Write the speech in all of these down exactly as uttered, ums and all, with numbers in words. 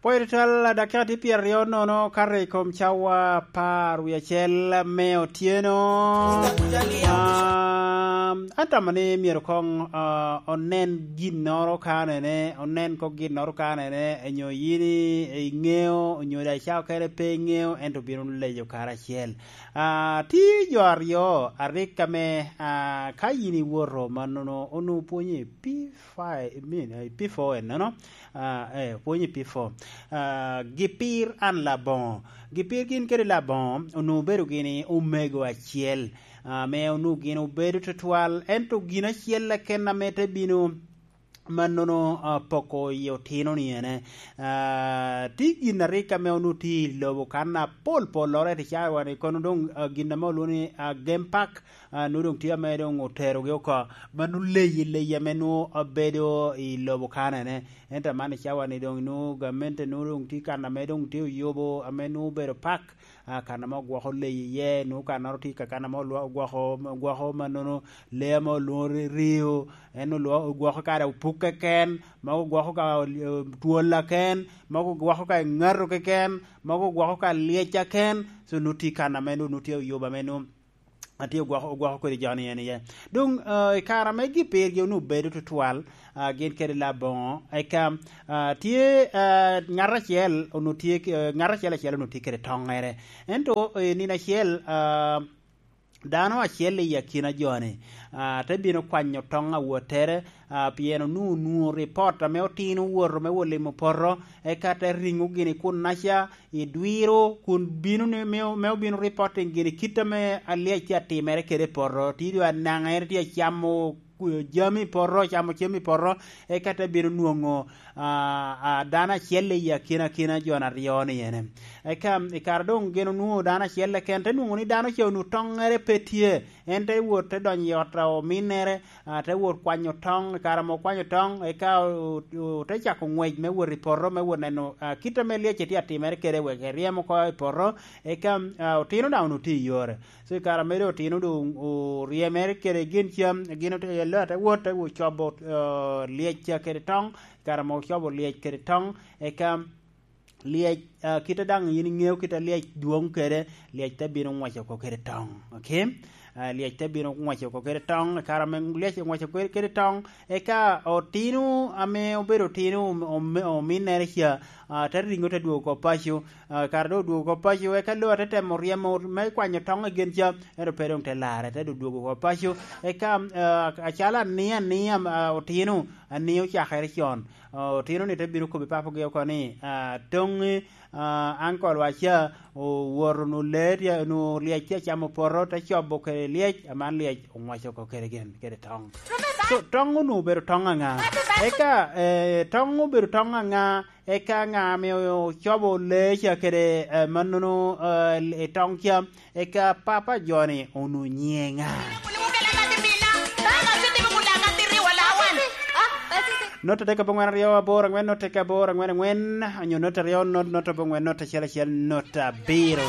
Pwod twal dakika tye pyeraryo nono kato i kom cawa apar wie acel me otyeno. Ah, atamo ni myero koŋ, ah, onen ginnoro kanene, onen koŋ ginnoro kanene, nyo yin i-, iŋeo, onyo daŋ icako kene pe iŋeo, ento bino leyo karacel. Ah, tye jo aryo a rik ame, ah, ka yin iwoto mannono, onwoŋo pwonyo i P five, I mean, eh, P four ennono, ah, eh, pwonyo i P four. Ah, gipir an Laboŋo. Gipir gin kede Laboŋo onwoŋo obedo gini omego acel, ah, ame onwoŋo gin obedo tutwal, ento gin acel keken ame te bino mannono, ah, poko i otino ni ene. Ah, tye gin a rik ame onwoŋo tye i lobo kan apol polloro, ento i cawa-ni kono doŋ, ah, gin ame olwoŋo ni, ah, Game Park, ah, nwoŋo doŋ tye ame doŋ oterogi oko. Mano leyi, leyi ame nwoŋo abedo i lobo kanene. Ento aman i cawa-ni doŋ nwoŋo gamente nwoŋo doŋ tye kan ame doŋ tye oyubo ame nwoŋo obedo pak, ah, kan ame ogwoko leyi iye, nwoŋo kannoro tye ka kan ame olwa-, ogwoko, ogwoko mannono lee ame olwoŋo ri-, rio, en olwo-, ogwoko kare opuk keken, mogo ogwoko ka, eh, twol aken, mogo ogwoko ka ŋato keken, mogo ogwoko ka lyec aken, so nwoŋo tye kan ame nwoŋo tye oyubo ame nwoŋo atye ogwoko, ogwoko kodi jo ni en iye. Doŋ, ah, i kare ame gipirgi onwoŋo bedo tutwal, ah, gin kede Laboŋo, eka, ah, tye, ah, ŋat acel onwoŋo tye ki, eh, ŋat acel acel onwoŋo tye kede toŋŋere. Ento, eh, nino acel, ah, dano acel i akina jo-ni, ah, te bino kwanyo toŋ awottere, ah, pien onwoŋo, onwoŋo ripot ame otino owoto me wot limo poto, eka te riŋo gini kunnaca, i dwiro, kun bino ni, me, me obino reporting gini kit ame alyec tye atimere kede i poto, tye dwe anaŋ en tye acamo, ku-, jami i poto, ocamo cem i poto, eka te bino nwoŋo, ah, ah, dano acel i akina akina jo aryo ni ene. Eka i kare doŋ gin onwoŋo dano acel keken, te nwoŋo ni dano ca onwoŋo toŋŋere pe tye, en te wot te donyo i ot a ominnere, ah, te wot kwanyo toŋ. I kare ame okwanyo toŋ, eka o-, o-, ote cako ngwec me wot i poto, me wot neno, ah, kit ame lyec tye atimere kede, wek eryem oko i poto, eka, ah, otino daŋ onwoŋo tye i yore. So, i kare ame doŋ otino doŋ oryemere kede gin cam, gin ote, laa te wot, te wot cobo, ah, lyec ca kede toŋ. I kare ame ocobo lyec kede toŋ, eka lyec, ah, kite daŋ yin iŋeo kite a lyec dwoŋ kede, lyec te bino ŋwec oko kede toŋ, okay? Ah, lyec te bino ŋwec oko kede toŋ, i kare ame lyec oŋwec oko kede, kede toŋ, eka otino ame obedo otino om-, om-, ominnere ca, ah, te riŋo te dwogo oko paco, ah, kare doŋ odwogo oko paco, eka lo te temo ryemo me kwanyo toŋ i gin ca, ento pe doŋ te larre, te doŋ dwogo oko paco, eka, ah, acalo ania ania, ah, otino, ania ocakere con. Otino-ni te bino kobbi papogi oko ni, ah, toŋi, ah, uncle wa ca owoto nu lee tye, nu lyec tye acamo poto, te cobo kede lyec, aman lyec oŋwaco oko kede gin, kede toŋ. So, toŋ onwoŋo obedo toŋ aŋa? Eka, eh, toŋ obedo toŋ aŋa? Eka ŋa ame ocobo lee ca kede, eh, mannono, eh, i toŋ ca? Eka papa joni onwoŋo nyiŋe ŋa? Note adek aboŋwen aryo aboro aŋwen, note adek aboro aŋwen aŋwen, onyo note aryo, not, note aboŋwen, note acel acel, note abiro.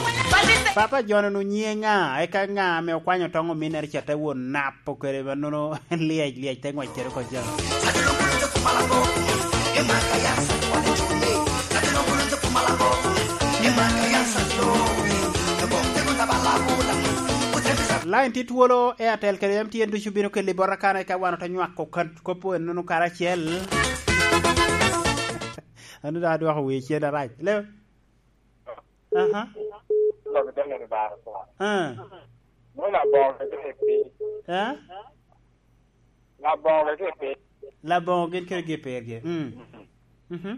Papa joni onwoŋo nyiŋe ŋa? Eka ŋa ame okwanyo toŋ ominnere ca te wot napo kede mannono lyec, lyec te ŋwec kede oko ca? Line tye twolo, Airtel kede M T N ducu bino keli bota kan, eka wan ote nywako kan-, kop ennono karacel. An daŋ adwoko wi cen arac. Leo? Aha. Ah. Eh? Laboŋo gin kede gi pergi. Mm. Mhm.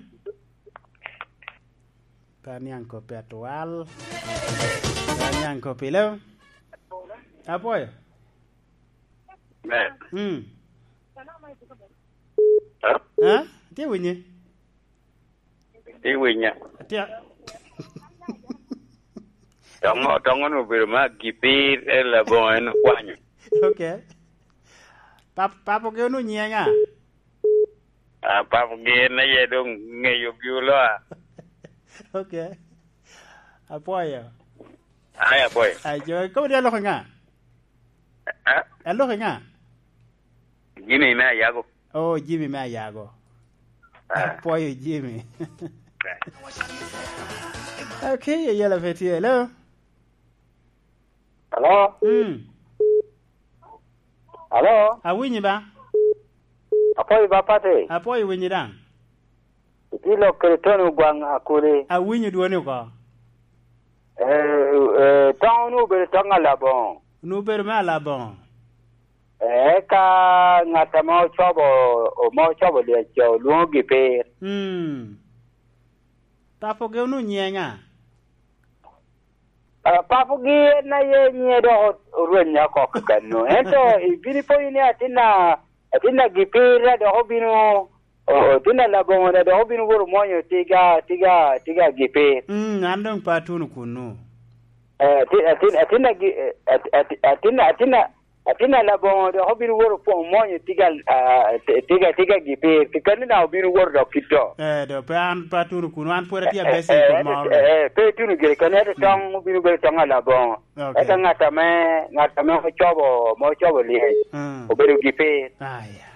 Pe aniaŋ koppi atwal. Pe aniaŋ koppi, leo? Apwoyo. Mm. Ha? Itye winye? Itye winya? Atye. Toŋo, toŋo-nu obedo ma gipir, en Laboŋo en okwanyo. Okay. Pap-, papo gi onwoŋo nyiŋe ŋa? Ah, papo gi en aye doŋ ŋeyo gi oloa. Okay. Apwoyo. Ai, apwoyo. Ai, jo, ikobo ni aloko ŋa? Ah? Aloko ŋa? Jimmy me Ayago. Oh, Jimmy me Ayago. Ah. Apwoyo Jimmy. Okay, yela pe tye. Hello? Hello? Mm. Hello? Awinyi ba? Apoyo ba, Pati? Apoyo, winyi daŋ. Itye lok kede Tony Ogwaŋ Akuli. Awinyo dwoni oko. Eh, eh, toŋ onwoŋo obedo toŋ Alaboŋo. Onwoŋo obedo me Alaboŋo. Eh, eka ŋat ame ocobo, ame ocobo lyec olwoŋo Gipir. Mm. Papogi onwoŋo nyiŋe ŋa? Ah, papogi en aye nyiŋe dok orwenya oko kakano. Ento ibino ipoyo ni atin a, atin a Gipir a dok obino, o-, atin a Laboŋo a dok obino wot omwonyo tiga, tiga, tiga Gipir. Mm, an doŋ pe atuno kunnu. Eh, atin, atin, atin a Gi-, eh, at-, at-, atin, atin a, atin a Laboŋo dok obino wot opwo-, omwonyo tiga, ah, ti-, tiga, tiga Gipir. Kakano daŋ obino wot dok kito. Eh, do pe an pe atuno kunnu, an pwod atye abese i kom moro. Eh, eh, pe ituno gire kene, ento toŋ obino bedo toŋ a Laboŋo. Ok. Eka ŋat ame, ŋat ame ocobo, ame ocobo lyec, mm, obedo Gipir. Aya.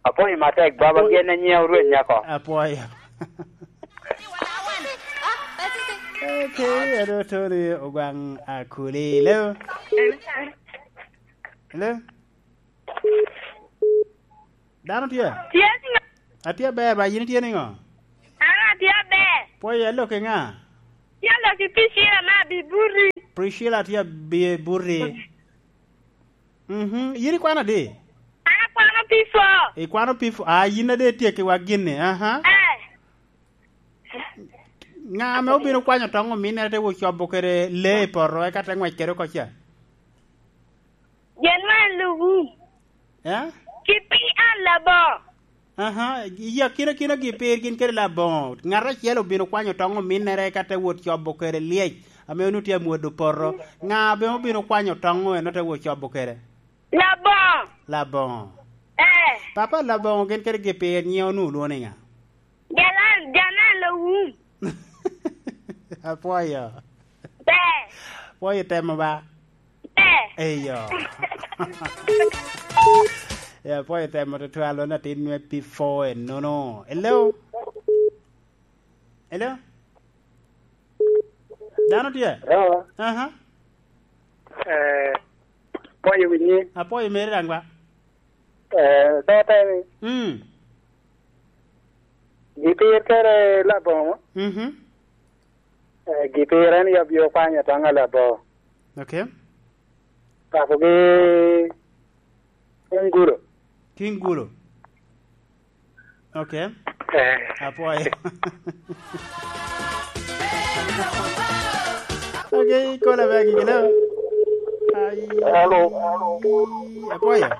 Apwoyo matek, baba, gen na nyiŋe orweny nyako. Apwoyo. Ok, ero Tony Ogwaŋ Akuli. Hello? Hello? Dano tye? Tye niŋo? Atye aber, ba yin itye niŋo? An atye aber. Pwoyo, aloki ŋa? Tye aloki Priscilla me Abiburi. Priscilla tye abi-, Abiburi. Mhm. Yin ikwano adi? An akwano P four. Ikwano P four. Ah, yin ade itye ki wa gini. Aha. Eh. Ŋa ame obino kwanyo toŋ ominnere te wot cobo kede lee i poto, eka te ŋwec kede oko ca? Jen me Lubu. Eh? Ki pi an Laboŋo. Aha, i akinakina Gipir gin kede Laboŋo. Ŋat acel obino kwanyo toŋ ominnere, eka te wot cobo kede lyec ame onwoŋo tye amwodo poto. Ŋa ame obino kwanyo toŋ eno te wot cobo kede? Laboŋo. Laboŋo. Eh. Papa, Laboŋo gin kede Gipir nyiŋe onwoŋo lwoŋo ni ŋa? Jalan, Jalan Lowum. Apwoyo. Ber. Apwoyo temo ba? Ber. Eyo. Ya, apwoyo temo tutwal, wano atin me P four enono. Hello? Hello? Dano tye? Hello? Aha. Eh, apwoyo winyi. Apwoyo meri daŋ ba? Eh, pe ateni. Mm. Gipir kede Laboŋo. Mhm. Eh, Gipir en yab yo kwanyo toŋ a Laboŋo. Ok. Papogi Kingulo. Kingulo. Ok. Eh. Apwoyo. Ok, ikola me agikelo. Ai. Hello. Apwoyo.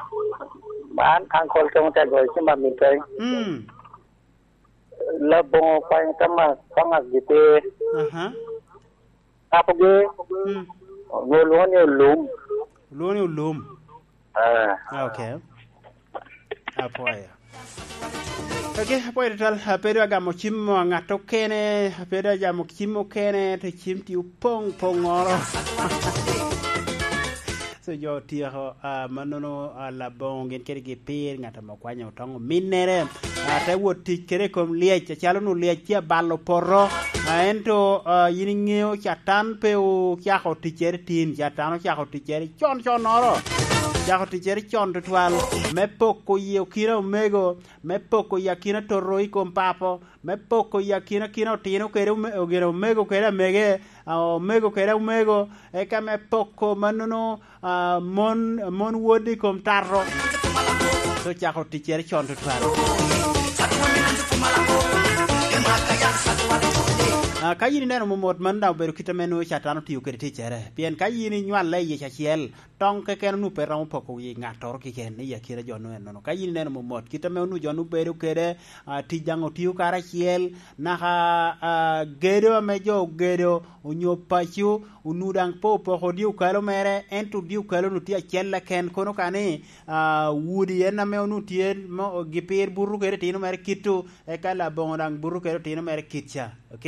Man Uncle Tong Tego, cima Minteng. Mm. Laboŋo kwanyo Thomas, Thomas Gipir. Aha. Papogi, mm, onwoŋo lwoŋo ni Olum. Lwoŋo ni Olum. Ah. Ah, ok. Apwoyo. Ok, apwoyo tutwal. Apedo agamo cim mo a ŋat okene, apedo agamo cim okene, to cim tye opoŋ poŋŋoro. So, jo otyeko, ah, mannono, ah, Laboŋo gin kede Gipir, ŋat ame okwanyo toŋ ominnere, ah, te wot tic kede i kom lyec, acalo nu lyec tye abalo poto, ah, ento, ah, yin iŋeo Catan pe ocako ticcere tin, Catan ocako ticcere con connoro, ocako ticcere con tutwal, me poko i okina omego, me poko i akina toto i kom papo, me poko i akinakina otino kede ome-, ogeno omego kede amege, ah, omego kede omego, eka me poko mannono, ah, mon, mon wod i kom tato, te ocako ticcere con tutwal. Ah, ka yin ineno momot, mano daŋ obedo kit ame nwoŋo Catan otio kede ticcere. Pien ka yin inywale i yec acel, toŋ keken onwoŋo pe romo poko wi ŋattoro keken i akina jo-nu ennono. Ka yin ineno momot, kit ame onwoŋo jo-nu bedo kede, ah, tic daŋ otio karacel, naka, ah, gedo ame jo ogedo onyo paco, onwoŋo daŋ pe opoko odye okalo mere, ento odye okalo-nu tye acel keken, kono ka ni, ah, udi en ame onwoŋo tye mo-, Gipir buto kede itino mere kit-tu, eka Laboŋo daŋ buto kede otino mere kit ca. Ok?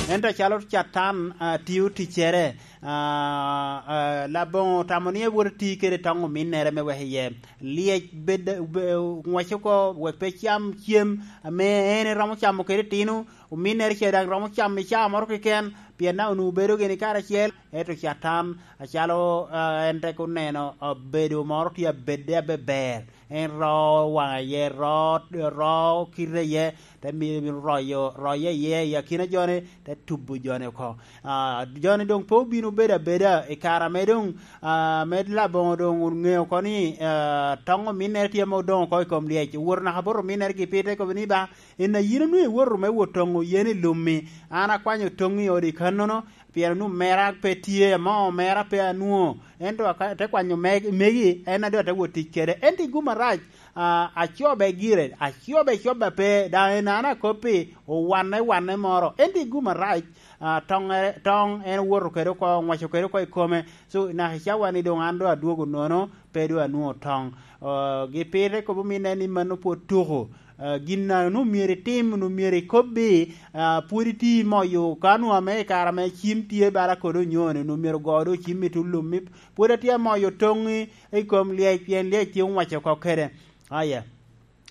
Ento acalo Catan, ah, tio ticcere, Ah, ah, Laboŋo otamo ni ewot eti kede toŋ ominnere me weko iye lyec bed, be-, ŋwec oko, wek pe cam cem ame en eromo camo kede itino, ominnere ce daŋ romo camo i caa moro keken, pien daŋ onwoŋo bedo gini karacel. Ento Catan, acalo, ah, en tek oneno, ah, bedo moro tye abedde abeber, en ro waŋe iye, ro, ro kite iye, te mi-, royo, roye iye i akina joni, te tubo joni oko. Ah, joni doŋ pe obino bedo abeda i kare ame doŋ, ah, ame Laboŋo doŋ oŋeo oko ni, ah, toŋ ominnere tye ame odoŋ oko i kom lyec. Owoto naka bot ominnere gi pite, kobo ni, "Ba, en a yin onwoŋo iwoto me wot toŋo yen i lum-mi, an akwanyo toŋi i odi kannono, pien onwoŋo mera pe tye, amo mera pe anwoŋo, ento aka-, te kwanyo meg-, megi, en a doŋ ate wot tic kede." Ento i gum arac, ah, acobe gire, acobe coba pe, daŋ en an akoppi, owanne wanne moro. Ento i gum arac, ah, toŋere, toŋ en owoto kede oko, oŋwaco kede oko i kome. So, naka i cawa-ni doŋ an doŋ adwogo nono, pe doŋ anwoŋo toŋ. Ah, gi pire kobo minne ni mano pwod tuko. Ah, gin a onwoŋo myero itim, onwoŋo myero ikobbi, ah, pwod iti moyo, ka onwoŋo ame i kare ame cim tye bala kodi onyoni, onwoŋo myero ogo doŋ cim i tullum, pwod atye amoyo toŋi i kom lyec, pien lyec tye oŋwaco oko kede. Aya.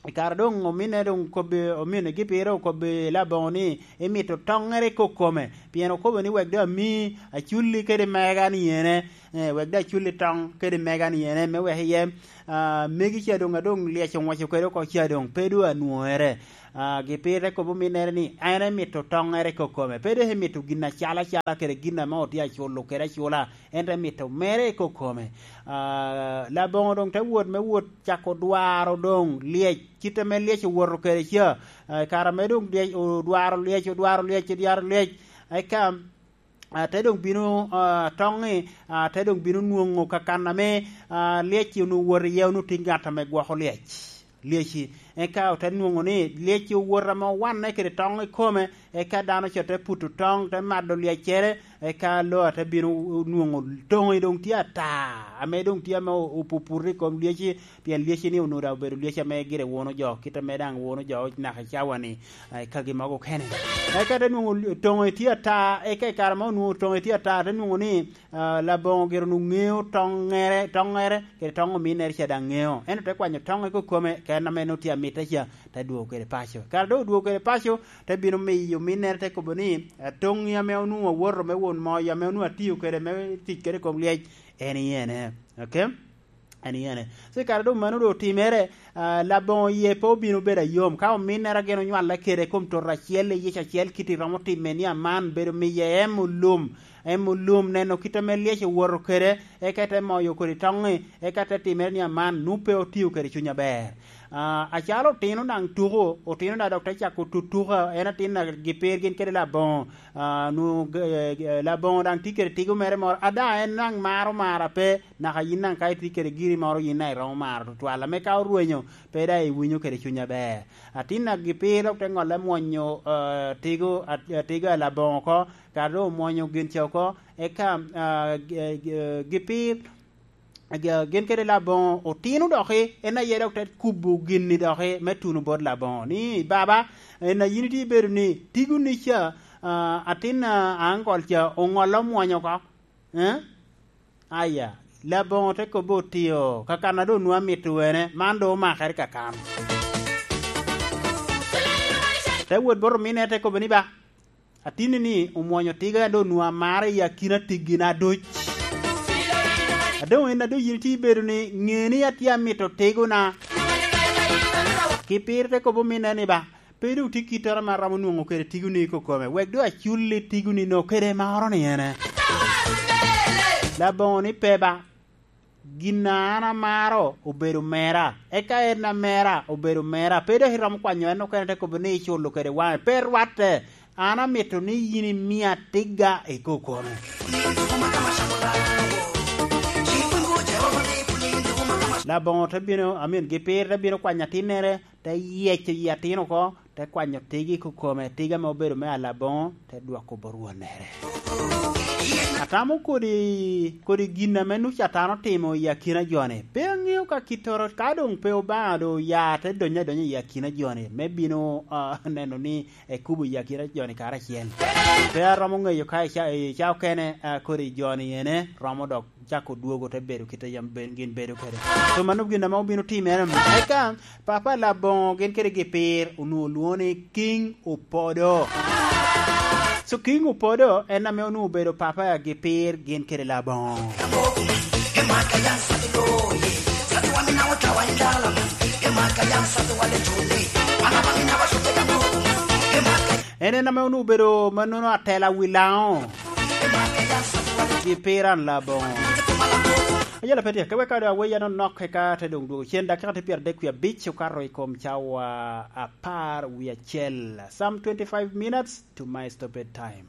I kare doŋ ominne doŋ okobbi, ominne gi pire okobbi Laboŋo ni, "Imito toŋŋere i kokome, pien okobo ni, 'Wek doŋ ami aculli kede mega ni ene, eh, wek doŋ aculli toŋ kede mega ni ene, me wek iye, ah, megi ca doŋ, a doŋ lyec oŋwaco kede oko ca doŋ, pe doŋ anwoŋere.'" Ah, gi pire kobo minnere ni, en emito toŋŋere i kokome, pe dok emito gin acalo acala kede gin ame otye aculo kede acula, ento emito mere i kokome. Ah, Laboŋo doŋ te wot me wot cako dwaro doŋ lyec, kit ame lyec owoto kede ca. Ah, i kare ame doŋ lyec, odwaro lyec, odwaro lyec, odwaro lyec, eka, ah, te doŋ bino, ah, toŋi, ah, te doŋ bino nwoŋo kakan ame, ah, lyec-ci onwoŋo wot iye, onwoŋo tye ŋat ame gwoko lyec, lyec-ci. Eka ote nwoŋo ni lyec-ci owoto ame owanne kede toŋ i kome, eka dano ca te puto toŋ, te mado lyeccere, eka loo te bino nwoŋo toŋi doŋ tye ata, ame doŋ tye ame o-, opuputo i kom lyec-ci, pien lyec-ci ni onwoŋo daŋ obedo lyec ame gire wuno jo, kit ame daŋ wuno jo naka i cawa-ni, eh, i kagi mogo okene. Eka te nwoŋo toŋi tye ata, eka i kare ma onwoŋo toŋi tye ata, te nwoŋo ni, ah, Laboŋo gire onwoŋo ŋeo toŋŋere, toŋŋere, kede toŋ ominnere ca daŋ ŋeo. Ento te kwanyo toŋe kokome, ka en ame nwoŋo tye amitte ca, te dwogo kede paco. Kare doŋ odwogo kede paco, te bino miyo ominnere te kobo ni, "Ah, toŋi ame onwoŋo awoto me won moyo, ame onwoŋo atio kede me tic kede i kom lyec, en i ene." Ok? En i ene. So, i kare doŋ mano doŋ otimere, ah, Laboŋo yie pe obino bedo ayom. Ka ominnere gin onywale kede i kom toto acel, i yec acel, kit i romo time ni aman, bedo miye em olum, em olum, neno kit ame lyec owoto kede, eka te moyo kodi toŋi, eka te timere ni aman, nwoŋo pe otio kede cuny aber. Ah, acalo otino daŋ tuko, otino daŋ dok te cako tutuka, en atin a gi pir gin kede Laboŋo. Ah, nwoŋo, eh, eh, Laboŋo daŋ tye kede tigo mere moro. Ada, en daŋ maro mara pe, naka yin daŋ ka itye kede giri moro, yin daŋ iromo maro tutwal. Ame ka orwenyo, pe daŋ iwinyo kede cuny aber. Atin a gi pir dok te ŋolle mwonyo, eh, tigo, at-, eh, tigo a Laboŋo oko, kare doŋ omwonyo gin ca oko, eka, ah, gi-, gi-, gi pir, Ag-, gin kede Laboŋo otino doki, en aye dok te kubo gin-ni doki me tuno bot Laboŋo, ni, "Baba, en a yin itye ibedo ni, tigo-ni ca, ah, atin a aŋkol ca oŋolle omwonyo oko." Eh? Aya, Laboŋo te kobbe otio, kakan a doŋ nwoŋo amito wene, man doŋ omakere kakan. Te wot bot ominne, te kobbe ni, "Ba, atinni-ni omwonyo tiga, dok onwoŋo amaro i akina tigina duc. A doŋ en a doŋ yin itye ibedo ni, ŋe ni atye amito tigona." Ki pire te kobo ominne ni, "Ba, pe doŋ tye kittoro ame aromo nwoŋo kede tigoni i kokome, wek doŋ aculli tigoni no kede maro ni ene." Laboŋo ni, "Pe ba, gin a an amaro obedo mera, eka en a mera obedo mera, pe dok iromo kwanyo en okene te kobo ni iculo kede waŋe, pe rwatte. An amito ni yin imia tigga i kokome." Laboŋo te bino, amin, gi pir te bino kwanyo atinnere, te yeco yi atin oko, te kwanyo tigi i kokome, tiga ame obedo me alaboŋo, te dwoko bot wonnere. Atamo kodi, kodi gin ame Nuca atano otimo i akina joni. Pe aŋeo ka kittoro, ka doŋ pe Obaŋa doŋ oya te donyo adonya i akina joni, me bino, ah, neno ni ekubo i akina joni karacel. Pe aromo ŋeyo ka i ca, i ca okene, ah, kodi joni ene romo dok cako dwogo te bedo kit a yam ben, gin bedo kede. So mano gin ame obino timere. Eka Papa Laboŋo gin kede Gipir onwoŋo lwoŋo ni King Opodo. So King Opodo en ame onwoŋo obedo papa a Gipir gin kede Laboŋo. En en ame onwoŋo obedo mannono atela wi Laŋo. Gipir an Laboŋo. Ayela pe tye, ka wek kado aweya no nok eka te doŋ dwogo cen, dakika tye pyeradek wie abic okato i kom cawa apar wie acel. Some twenty-five minutes to my stoppage time.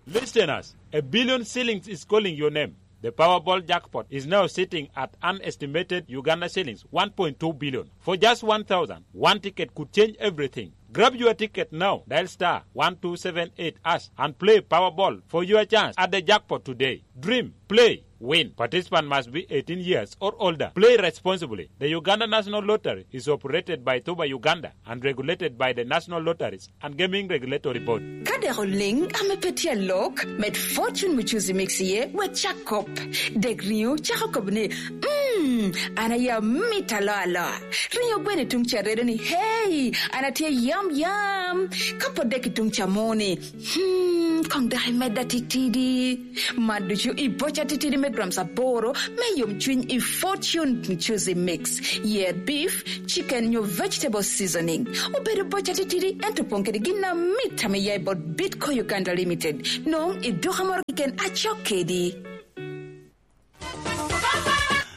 Listeners, a billion shillings is calling your name. The Powerball jackpot is now sitting at an estimated Uganda shillings one point two billion. For just one thousand, one ticket could change everything. Grab your ticket now. Dial star one two seven eight hash and play Powerball for your chance at the jackpot today. Dream, play, win. Participant must be eighteen years or older. Play responsibly. The Uganda National Lottery is operated by Tuba Uganda and regulated by the National Lotteries and Gaming Regulatory Board. Ka dek oliŋ ame pe tye alok, med Fortune Muchuzi Mix iye, wek cak kop. Dek riŋo cako kobo ni, "Mm, an aye amito aloa aloa." Riŋo gweno i tuŋ ca redo ni, "Hey, an atye yam yam." Ka pwod dek i tuŋ ca moni, "Hmm, koŋ dok imedda titidi." Man ducu i boca titidi me grams aboro me yomcwiny i Fortune Muchuzi Mix. Yer beef, chicken nyo vegetable seasoning. Obedo boca titidi, ento opoŋ kede gin amit ame ya i bot Bitco Uganda Limited. Nwoŋo i duka moro keken acok kedi.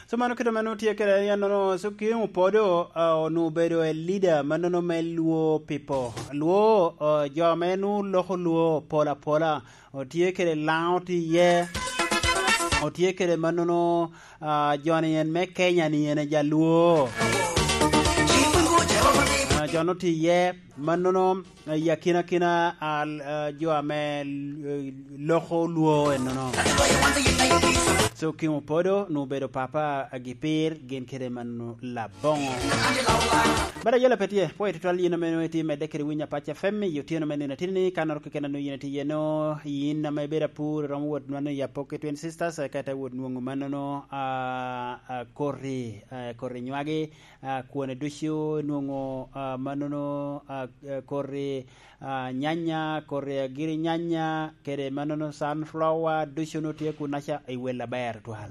So mano kite mano tye kede en nono, so King Opodo, ah, onwoŋo obedo a leader mannono me Luo people. Luo, ah, jo ame nwoŋo loko Luo pol apola. Otye kede Laŋo tye iye. Otye kede mannono, ah, joni en me Kenya ni en ja Luo. Ah, joni otye iye, mannono, ah, i akinakina, ah, ah, jo ame, eh, loko Luo en nono. So King Opodo, nwoŋo obedo papa a Gipir, gin kede mannono Laboŋo. Bada yela pe tye, pwoyo tutwal yin ame nwoŋo itye medde kede winyo Apac F M i otyeno me nino atini ni, ka noro keken a nwoŋo yin itye iye no, yin ame ibedo apur, iromo wot nwoŋo i Apoki Twin Sisters, eka ite wot nwoŋo mannono, ah, ah, koti, ah, koti nywagi, ah, kwone ducu nwoŋo, ah, mannono, ah, ah, koti, ah, nyanya, koti agiri nyanya, kede mannono sunflower, ducu nwoŋo tye kunaca i wel aber twal.